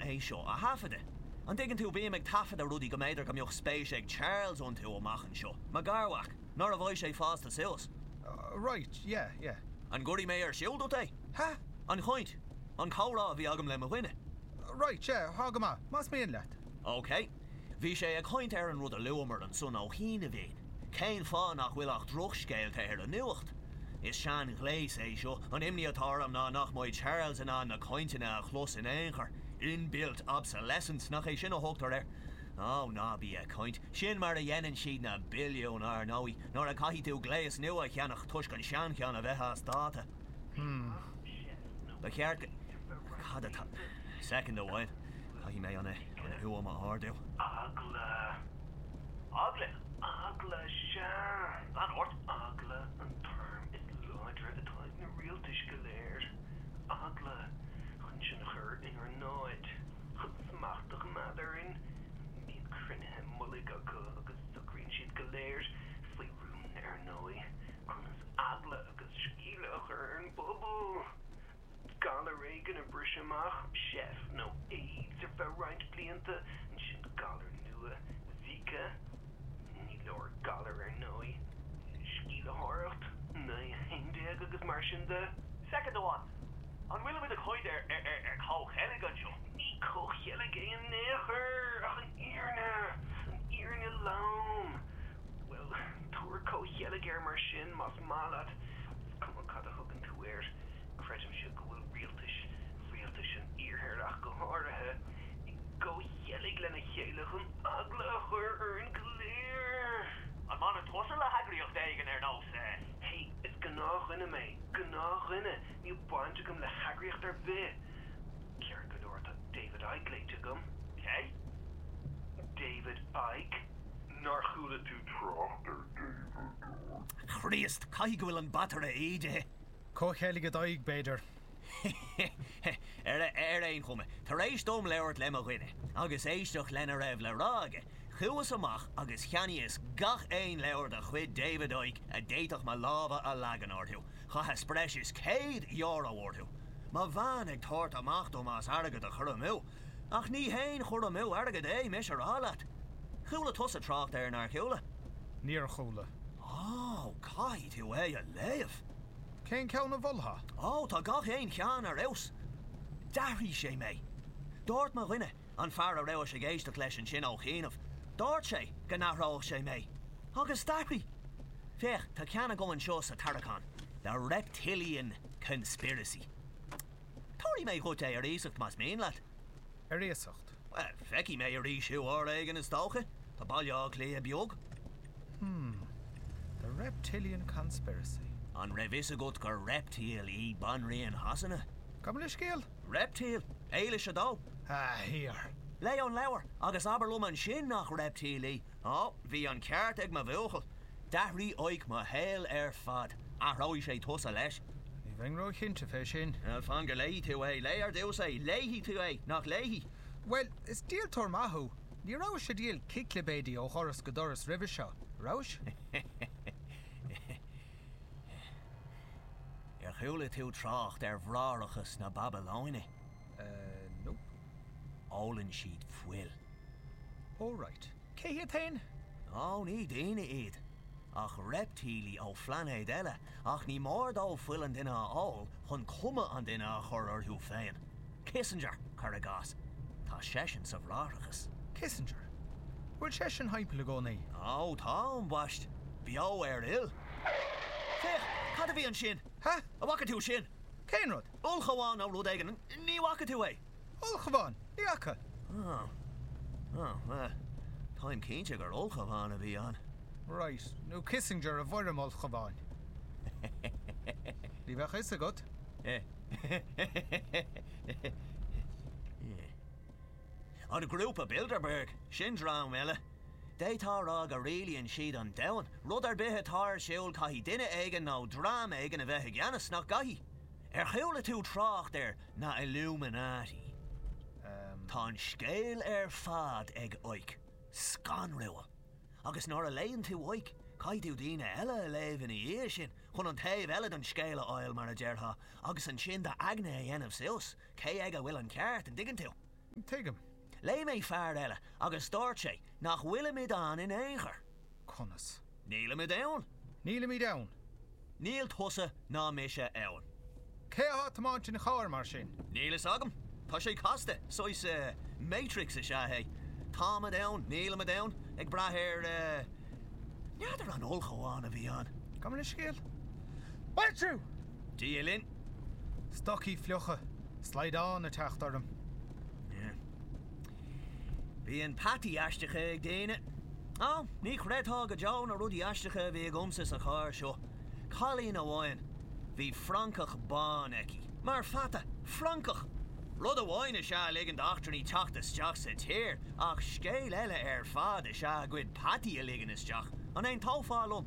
é seo a thaifeadadh. An dtuigeann tú, bím ag taifeadadh rudaí go mb'fhéidir go mbeadh spéis ag Charles iontu amach anseo, mo gharmhac, nuair a bheidh sé fásta suas. Right, yeah, yeah. An gcuirfidh mé ar siúl duit é? Ha? An chaint, an comhrá a bhí agam le mo dhuine. Right, yeah, tá go maith, más mian leat. Ok. Bhí sé ag caint ar an rud a luamar ansan ó chianaibhín, cén fáth nach bhfuil ach drochscéalta ar an nuacht? Is sean-ghléas é seo, an imní atá orm ná nach mbeidh Charles in ann na cainteanna a chlos in aon chor. Inbuilt obsolescence, nach é sin a thugtar air? Ó, ná bí ag caint. Sin mar a dhéanann siad na billiúin, ar ndóigh, nuair a caithfidh tú gléas nua a cheannach toisc an seancheann a bheith as dáta. Hmm. Ba cheart go. Cad atá. Soicind amháin. Caithfidh mé an fhuaim a ardú. Eagla. Eagla? Eagla, sea. Lean ort. Eagla an t-arm is láidre atá ag na rialtais go léir. Eagla chun sinn a chur inár n-áit, chun smacht a choimeád orainn. Bíonn cruinnithe mullaigh acu agus socraíonn siad go léir, faoi rún ar ndóigh, conas eagla agus sceimhle a chur ar an bpobal. Galar éigin ag briseadh amach, seif nó AIDS ar feadh roinnt blianta, ansin galar nua, Zika. Ní leor galar ar ndóigh. Sceimhlitheoireacht, 911 agus mar sin de. Soicind amháin. An bhfuilimid ag caint ar, ar, ar comhcheilg anseo? Ní comhcheilg é in aon chor, ach an fhírinne, an fhírinne lom. Bhuel, tabhair comhcheilg air mar sin, más maith leat. Is cuma cad a thugann tú air. Creidimse go bhfuil rialtais, rialtais an Iarthair ach go háirithe, i gcomhcheilg lena chéile chun eagla a chur orainn go léir. An mbaineann tusa le heagraíocht éigin ar nós eh. Hey, is gnáthdhuine mé, gnáthdhuine, níl baint agam le heagraíocht ar bith. Ceart go leor, tá David Icke léite agam. Cé? David Icke. Nár chuala tú trácht ar David Icke? Chríost, caithfidh go bhfuil an bataire ídithe. Comhcheilg i d'aghaidh, b'fhéidir. Ar aon chuma, tar éis dom labhairt le mo dhuine, agus éisteacht lena raibh le rá aige, chuas amach agus cheannaíos gach aon leabhar de chuid David Icke a d'fhéadfadh mo lámha a leagan orthu. Chaitheas breis is €100 orthu. Mo bhean ag tabhairt amach dom as airgead a chur amú. Ach ní haon chur amú airgid é, mise a rá leat. Chuala tusa trácht air, nár chuala? Níor chuala. Ó, caithfidh tú é a léamh. Cén ceann a mholfá? Ó, tá gach aon cheann ar fheabhas. D'athraigh sé mé. Dúirt mo dhuine, an fear a rabhais ag éisteacht leis ansin ó chianaibh, dúirt sé go n-athródh sé mé. Agus d'athraigh. Féach, tá ceann agam anseo sa tarraiceán, The Reptilian Conspiracy. Tabharfaidh mé dhuit é ar iasacht más mian leat. Ar iasacht? Bhuel, feicfidh mé arís thú uair éigin is dócha. Tá Baile Átha Cliath beag. Hmm. The Reptilian Conspiracy. An raibh fhios agat gur reptile í Banríon Shasana? Gabh mo leithscéal? Reptile. Éilis 2. Ah, here. Léigh an leabhar agus abair liom ansin nach reptile í. Ó, bhí an ceart ag mo bhuachaill. D'athraigh Icke mo shaol ar fad. Athróidh sé tusa leis. Ní bheinn róchinnte fé sin. Bhuel, fan go léifidh tú é. Léigh ar dtús é. Léifidh tú é, nach léifidh? Bhuel, is díoltóir maith thú. Ní rabhais ag díol ciclipéidí ó dhoras go doras roimhe seo, rabhais? Ar chuala tú trácht ar Bhráithreachas na Babalóine? Eh, nope. Ólann siad fuil. Oh right. Cé hiad féin? Ó, ní daoine iad, ach reiptílí ó phlainéad eile, ach ní mór dóibh fuil an duine a ól chun cuma an duine a chur orthu féin. Kissinger, cuir i gcás. Tá seisean sa Bhráithreachas. Kissinger? Bhfuil seisean thimpeall i gcónaí? Ó, tá, ambaist. Beo ar fhuil. Féach, cad a bhí ansin? Ha? An bhfaca tú sin? Cén rud? Ulchabhán nó rud éigin. Ní bhfaca tú é? Ulchabhán! Ní fhaca! Ó. Ó, bhuel, táim cinnte gur ulchabhán a bhí ann. Right, nó Kissinger i bhfoirm ulchabháin. Ní bheadh fhios agat. An Grúpa Bilderberg, sin dream eile. D'fhéadfá a rá go rialaíonn siad an domhan. Rud ar bith atá ar siúl caithfidh duine éigin nó dream éigin a bheith i gceannas, nach gcaithfidh? Ar chuala tú trácht ar na Illuminati? Tá an scéal ar fad ag Icke. Scanrúil. Agus nuair a léann tú Icke, caithfidh tú daoine eile a léamh ina dhiaidh sin, chun an taobh eile den scéal a fháil, mar a déarfá, agus ansin d'aigne a dhéanamh suas, cé aige a bhfuil an ceart, an dtuigeann tú? Tuigim. Léigh mé fear eile agus dúirt sé nach bhfuilimid ann in aon chor. Conas? Nílimid ann. Nílimid ann. Níl tusa ná mise ann. Cé atá ag tiomáint an chairr, mar sin? Níl fhios agam. Tá sé casta. Saghas Matrix is ea é. Táimid ann, nílimid ann, ag brath ar eh. N'fheadar an ulchabhán a bhí ann. Gabh mo leithscéal. Maitiú! Dia linn. Stocaí fliucha, slaghdán ag teacht orm. Bíonn peataí aisteacha ag daoine. Á, ní chreidfeá go deo na rudaí aisteacha a bhí agamsa sa charr seo. Cailín amháin, bhí francach bán aici. Mar pheata! Francach! Rud amháin is ea ligean d'eachtrannaigh teacht isteach sa tír, ach scéal eile ar fad is ea a gcuid peataí a ligean isteach. An aontófá liom?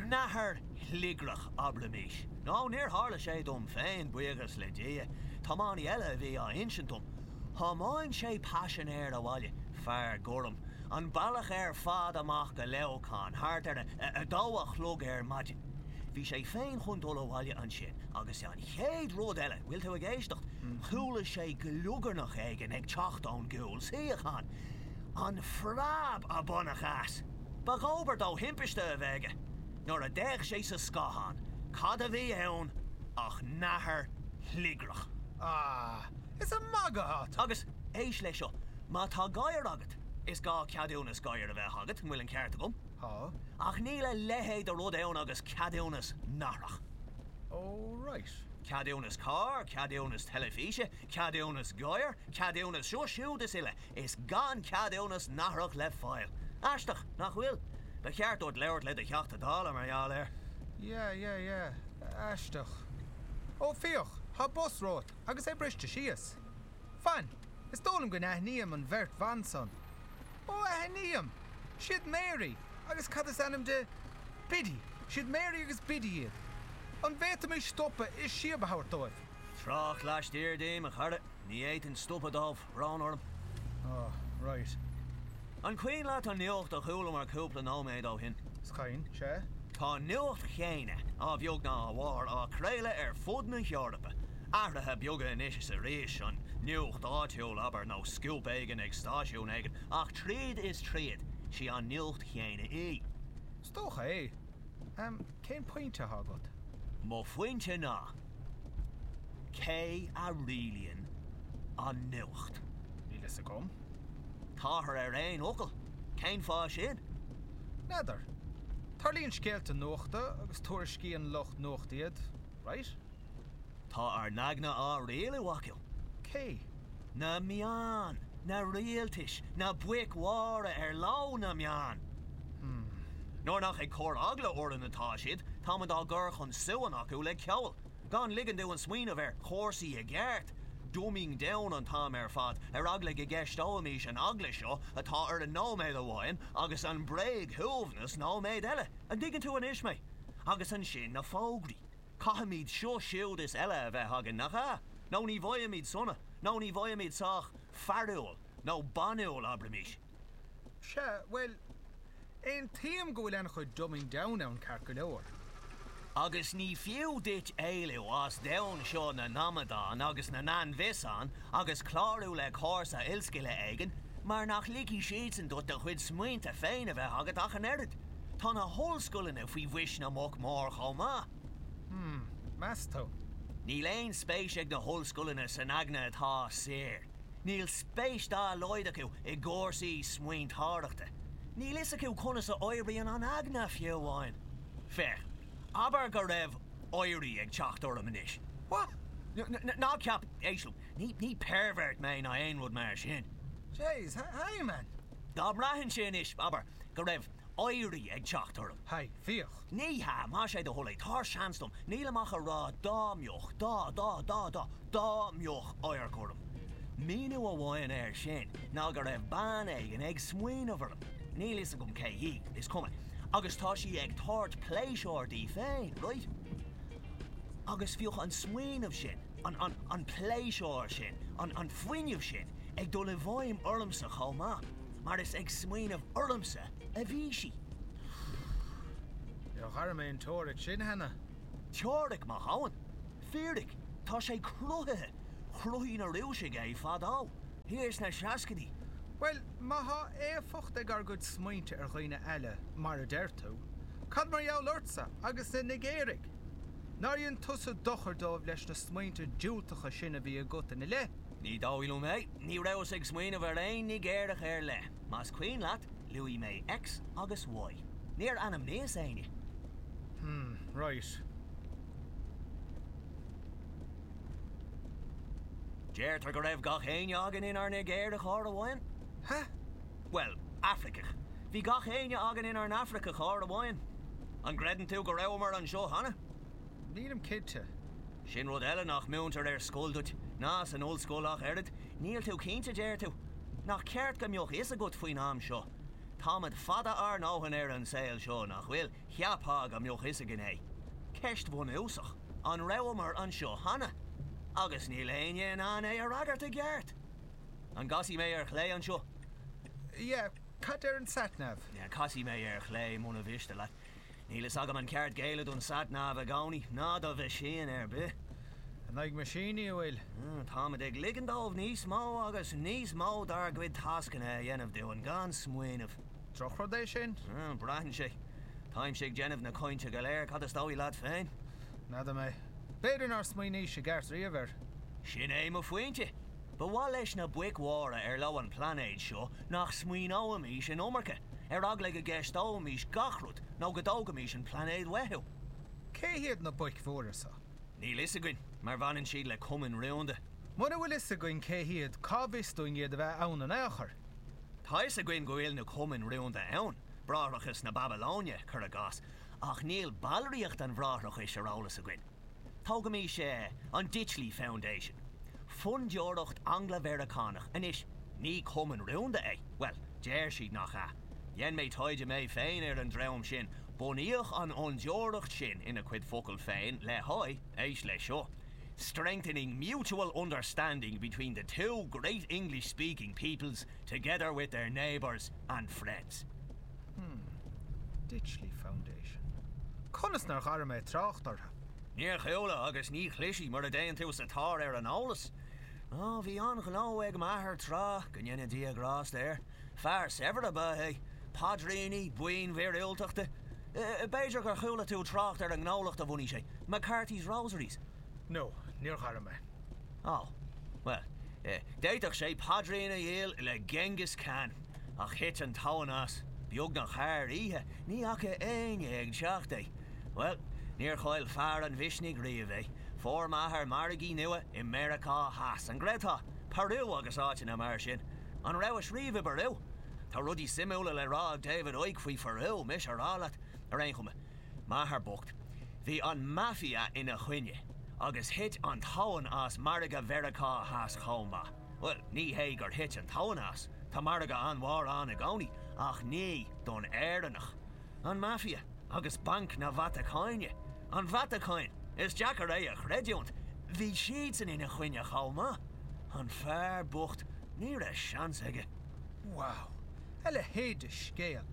Nathair shliogreach, abraimís. Nó níor tharla sé dom féin, buíochas le Dia. Tiománaí eile a bhí á insint dom. Thiomáin sé paisinéir abhaile, fear gorm, an bealach ar fad amach go Leamhcán thart ar a 2 a chlog ar maidin. Bhí sé féin chun dul abhaile ansin agus an chéad rud eile, bhfuil tú ag éisteacht, chuala sé gliogarnach éigin ag teacht ón gcúl suíochán. An phreab a baineadh as! Ba dhóbair dó thimpiste a bheith aige. Nuair a d'fhéach sé sa scáthán, cad a bhí ann ach nathair shliogreach. Ah, is ag magadh atá tú! Agus, éist leis seo, má tá gadhar agat, is gá ceadúnas gadhair a bheith agat, an bhfuil an ceart agam? Tá. Ach níl a leithéid de rud ann agus ceadúnas nathrach. Oh, right. Ceadúnas cairr, ceadúnas teilifíse, ceadúnas gadhair, ceadúnas seo siúd is uile, is gan ceadúnas nathrach le fáil. Aisteach, nach bhfuil? Ba cheart duit labhairt le do Theachta Dála mar gheall air. Yeah, yeah, yeah. Aisteach. Ó, féach, tá bus romhat agus é briste síos. Fan, is dóigh liom go n-aithním an bheirt bhan san. Ó, aithním! Siad Mary agus cad is ainm di? Biddy. Siad Mary agus Biddy iad. An bhféadfaimis stopadh is síob a thabhairt dóibh? Trácht laistiar díom, a chara. Ní fhéadfainn stopadh dóibh, brón orm. Oh, right. An cuimhin leat an nuacht a chualamar cúpla nóiméad ó shin? Is cuimhin, sea. Tá an nuacht chéanna, a bheag ná a mhór, á craoladh ar fud na hEorpa. Athruithe beaga anois is arís, an nuacht áitiúil, abair, nó scúp éigin ag stáisiún éigin, ach tríd is tríd, sí an nuacht chéanna í. Is dócha é. Cén pointe atá agat? Mo phointe ná, cé a rialaíonn an nuacht? Níl fhios agam. Táthar ar aon fhocal. Cén fáth sin? N'fheadar. Tarlaíonn scéalta nuachta agus tuairiscíonn lucht nuachta iad, right? Tá ár n-aigne á rialú acu. Cé? Na meáin, na rialtais, na boic mhóra ar leo na meáin. Hmm. Nuair nach ag cur eagla orainn atá siad, táimid á gcur chun suain acu le ceol. Gan ligean dúinn smaoineamh ar chúrsaí i gceart. Dumbing down an t-am ar fad, ar eagla go gceisteoimís an eagla seo atá orainn nóiméad amháin agus an bréagshuaimhneas nóiméad eile. An dtuigeann tú anois mé? Agus ansin na fógraí. Caithfimid seo siúd is eile a bheith againn, nach ea? Nó ní bhfaighimid sona, nó ní bhfaighimid sách fearúil, nó banúil, abraimís. Sea, bhuel, aontaím go bhfuil an-chuid dumbing down ann ceart go leor. Agus ní fiú duit éalú as domhan seo na n-amadán agus na n-ainbhiosán agus clárú le cúrsa ollscoile éigin mar nach ligfidh siadsan duit do chuid smaointe féin a bheith agat ach an oiread. Tá na hollscoileanna faoi bhois na mboc mór chomh maith. Hmm, meas tú? Níl aon spéis ag na hollscoileanna san aigne atá saor. Níl spéis dá laghad acu i gcúrsaí smaointeoireachta. Níl fhios acu conas a oibríonn an aigne, fiú amháin. Féach, abair go raibh éirí ag teacht orm anois. What? Ná ceap, éist liom, ní pervert mé ná aon rud mar sin. Jeez, hey man! Dá mbraithfinnse anois, abair, go raibh éirí ag teacht orm. Hey, féach. Ní hea, más é do thoil é, tabhair seans dom, nílim ach a rá dá mbeadh, dá, dá, dá, dá, dá mbeadh oidhreac orm. Míniú amháin air sin ná go raibh bean éigin ag smaoineamh orm, níl fhios agam cé hí, is cuma, agus tá sí ag tabhairt pléisiúir di féin, right? Agus bheadh an smaoineamh sin, an, an, an pléisiúr sin, an, an fuinneamh sin ag dul i bhfeidhm ormsa chomh maith, mar is ag smaoineamh ormsa a bhí sí. Níor ghairm aon teoiric sin cheana. Teoiric maith ann. Fíric. Tá sé cruthaithe. Chruthaigh na Rúisigh é fadó. Thiar sna seascaidí. Bhuel, má thá éifeacht ag ár gcuid smaointe ar dhaoine eile, mar a deir tú, cad mar gheall ortsa agus na Nigéaraigh? Nár dhein tusa dochar dóibh leis na smaointe diúltacha sin a bhí agat ina leith? Ní dóigh liom é. Ní rabhas ag smaoineamh ar aon Nigéarach ar leith. Más cuimhin leat, luaigh mé X agus Y. Níor ainmníos éinne. Hmm, right. Deirtear go raibh gach éinne againn inár Nigéarach uair amháin. Huh? Bhuel, Afraiceach. Bhí gach éinne againn inár nAfraiceach uair amháin. An gcreideann tú go rabhamar anseo cheana? Nílim cinnte. Sin rud eile nach múintear ar scoil duit, ná san ollscoil ach oiread. Níl tú cinnte, deir tú? Nach ceart go mbeadh fhios agat faoin am seo? Táimid fada ár ndóthain ar an saol seo, nach bhfuil? Cheapfá go mbeadh fhios againn é. Ceist bhunúsach, an rabhamar anseo cheana? Agus níl éinne in ann é a fhreagairt i gceart! An gcasfaidh mé ar chlé anseo? Yeah, cad deir an sat-nav? Casfaidh mé ar chlé muna mhiste leat. Níl fhios agam an ceart géilleadh don sat-nav i gcónaí, ná do mheaisín ar bith. In aghaidh meaisíní, a bhfuil? Táimid ag ligean dóibh níos mó agus níos mó dár gcuid tascanna a dhéanamh dúinn gan smaoineamh. Drochrud é sin? Braitheann sé. Táimse ag déanamh na cainte go léir, cad is dóigh leat féin? N'fheadar mé. B'fhéidir nár smaoiníos i gceart riamh air. Sin é mo phointe. Ba mhaith leis na boic mhóra ar leo an plainéad seo nach smaoineoimís an iomarca, ar eagla go gceisteoimís gach rud nó go dtógfaimís an plainéad uathu. Cé hiad na boic mhóra seo? Níl fhios againn, mar bhaineann siad le cumainn rúnda. Muna bhfuil fhios againn cé hiad, cá bhfios dúinn iad a bheith ann in aon chor? Tá fhios againn go bhfuil na cumainn rúnda ann, Bráithreachas na Babalóine, cuir i gcás, ach níl ballraíocht an Bhráithreachais ar eolas againn. Tógaimís an Ditchley Foundation, fondúireacht Angla-Mheiriceánach, anois ní cumann rúnda é, bhuel, deir siad nach ea. Dhein mé taighde mé féin ar an dream sin, bunaíodh an fhondúireacht sin, ina cuid focal féin, le haghaidh, éist leis seo, strengthening mutual understanding between the two great English-speaking peoples together with their neighbours and friends. Hmm. Ditchley Foundation. Conas nár dh'airigh mé trácht orthu? Níor chuala agus ní chloisfidh mura dtéann tú sa tóir ar an eolas. Ó, bhí an-ghnó ag m'athair tráth, go ndéana Dia grásta air. Fear saibhir ab ea é. Paidríní, buíon mhíorúilteachta. B'fhéidir gur chuala tú trácht ar an ngnólacht a bhunaigh sé, McCarthy's Rosaries. No, níor dh'airigh mé. Ó, bhuel, d'fhéadfadh sé paidrín a dhíol le Genghis Khan. Ach thit an tóin as, beagnach thar oíche, ní fhaca éinne ag teacht é. Bhuel, níor chaill fear an mhisnigh riamh é. Fuair m'athair margaí nua i Meiriceá Theas, an gcreidfeá? Peru agus áiteanna mar sin. An rabhais riamh i bPeru? Tá rudaí suimiúla le rá ag David Icke faoi Pheru, mise a rá leat. Ar aon chuma, m'athair bocht, bhí an Mafia ina choinne agus thit an tóin as margadh Mheiriceá Theas chomh maith. Bhuel, ní hé gur thit an tóin as, tá margadh an-mhór ann i gcónaí, ach ní don Éireannach. An Mafia agus Banc na Vatacáine. An Vatacáin! Is deacair é a chreidiúint. Bhí siadsan ina choinne chomh maith. An fear bocht, ní raibh seans aige. Wow! A leithéid de scéal!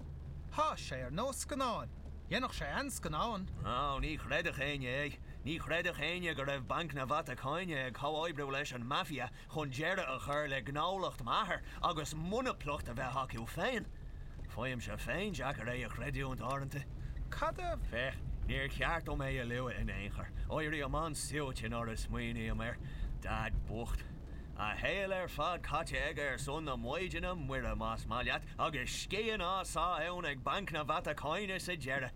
Thá sé ar nós scannáin. Dhéanfadh sé an-scannán. Ó, ní chreidfeadh éinne é. Ní chreidfeadh éinne go raibh Banc na Vatacáine ag comhoibriú leis an Mafia chun deireadh a chur le gnólacht m'athar agus monaplacht a bheith acu féin. Faighimse féin deacair é a chreidiúint uaireanta. Cad a. Féach, níor cheart dom é a lua in aon chor. Éirím an-suaite nuair a smaoiním air. Daid bocht. A shaol ar fad caite aige ar son na Maighdine Muire, más maith leat, agus scian á sá ann ag Banc na Vatacáine sa deireadh.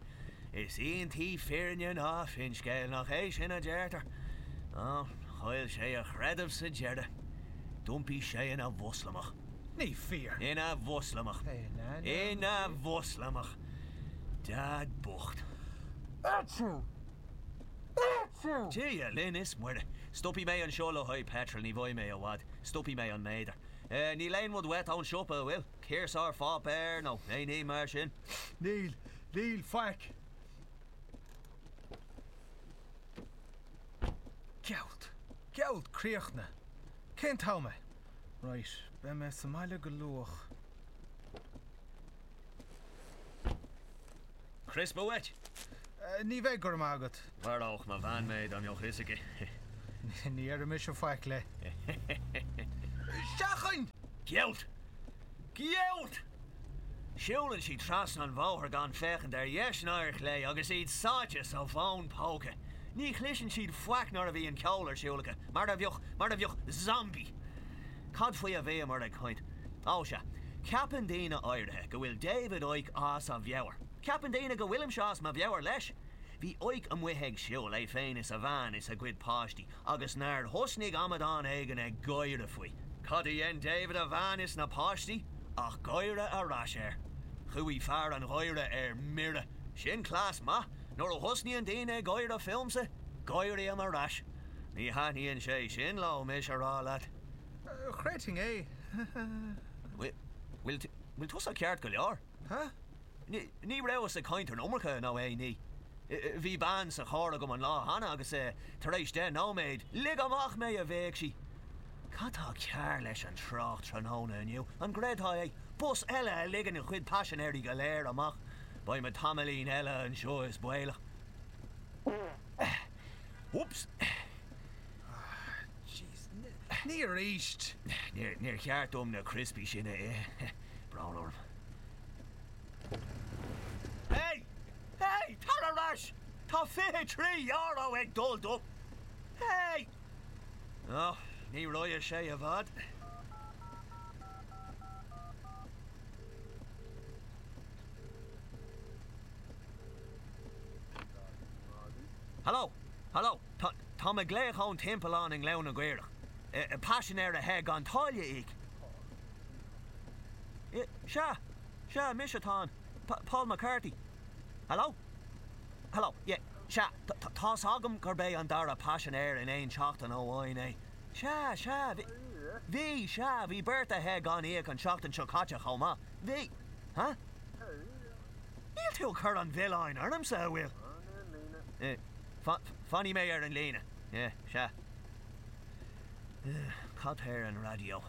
Is iontaí fírinne ná finscéal, nach é sin a deirtear? Ó, chaill sé a chreideamh sa deireadh. D'iompaigh sé ina Mhoslamach. Ní fíor. Ina Mhoslamach. Ina Mhoslamach. Daid bocht. Achoo! Achoo! Dia linn is Muire. Stopfaidh mé anseo le haghaidh peitril, ní bheidh mé i bhfad. Stopfaidh mé an méadar. Níl aon rud uait ón siopa, an bhfuil? Ciarsúr pháipéir nó aon ní mar sin? Níl, níl, faic. Gealt, gealt críochnaithe. Cén t-am é? Right, beidh mé sa mbaile go luath. Crispa uait? Ní bheidh, go raibh maith agat. Mharódh mo bhean mé dá mbeadh fhios aici. Ní déarfaidh mise faic léi. Seachain! Gealt! Gealt! Siúlann siad trasna an bhóthair gan féachaint ar dheis ná ar chlé agus iad sáite sa bhfón póca. Ní chloiseann siad faic nuair a bhíonn ceol ar siúl acu, mar a bheadh, mar a bheadh zombie. Cad faoi a bhíomar ag caint? Ó sea, ceapann daoine áirithe go bhfuil David Icke as a mheabhair. Ceapann daoine go bhfuilimse as mo mheabhair leis. Bhí Icke amuigh ag siúl, é féin is a bhean is a gcuid páistí, agus nár thosnaigh amadán éigin ag gáire faoi. Cad a dhein David, a bhean is na páistí ach gáire ar ais air. Chuaigh fear an gháire ar mire. Sin cleas maith. Nuair a thosnaíonn daoine ag gáire fúmsa, gáirím ar ais. Ní thaitníonn sé sin leo, mise a rá leat. Chreidfinn é. Bhfuil tusa ceart go leor? Huh? Ní rabhas ag caint an iomarca nó aon ní. Bhí bean sa charr agam an lá cheana agus tar éis deich nóiméad, lig amach mé, a bhéic sí. Cad tá cearr leis an trácht tráthnóna inniu? An gcreidfeá é? Bus eile a ligeann a chuid paisinéirí go léir amach. Beidh muid tamaillín eile anseo is baolach. Whoops! Jeez, ní arís! Níor cheart dom na criospaí sin a ithe. Brón orm. Hey! Hey! Tar ar ais! Tá €23 ag dul dom! Hey! Oh, ní raghaidh sé i bhfad. Hello! Hello! Tá, táim ag glaoch ón timpeallán i nGleann na gCaorach. Paisinéir a theith gan táille a íoc. Sea, sea, mise atá ann. Paul McCarthy. Hello? Hello, yeah, sea, tá's agam gurb é an dara paisinéir in aon tseachtain amháin é. Sea, sea, bhí, bhí, sea, bhí beirt a theith gan íoc an tseachtain seo caite chomh maith. Bhí, huh? Níl tú ag cur an mhilleáin ormsa, an bhfuil? Fanfaidh mé ar an líne. Yeah, sea. Cad tá ar an raidió?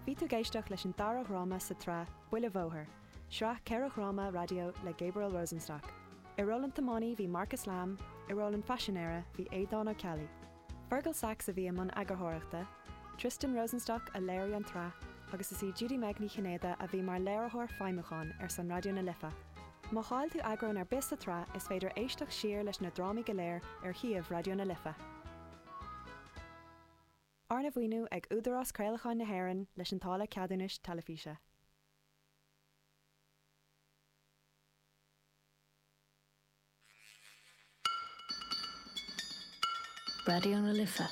Bhí tú ag éisteacht leis an dara dhráma sa tsraith Buile Bhóthair, sraith 4 dhráma raidió le Gabriel Rosenstock. I ról an tiománaí bhí Marcus Lamb, i ról an phaisinéara bhí Aodán Ó Ceallaigh. Fergal Sachs a bhí i mbun eagarthóireachta, Tristan Rosenstock a léirigh an tsraith agus is í Judy-Meg Ní Chinnéide a bhí mar léiritheoir feidhmiúcháin ar son Raidió na Life. Má chaill tú eagrán ar bith sa tsraith is féidir éisteacht siar leis na drámaí go léir ar shuíomh Raidió na Life. Arna mhaoiniú ag Údarás Craolacháin na hÉireann leis an táille ceadúnais teilifíse. Raidió na Life,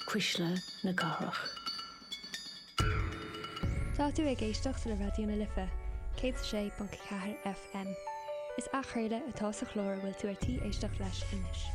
Cuisle na Cathrach. Tá tú ag éisteacht le Raidió na Life, 106.4 FM. Is athchraoladh atá sa chlár a bhfuil tú ar tí éisteacht leis anois.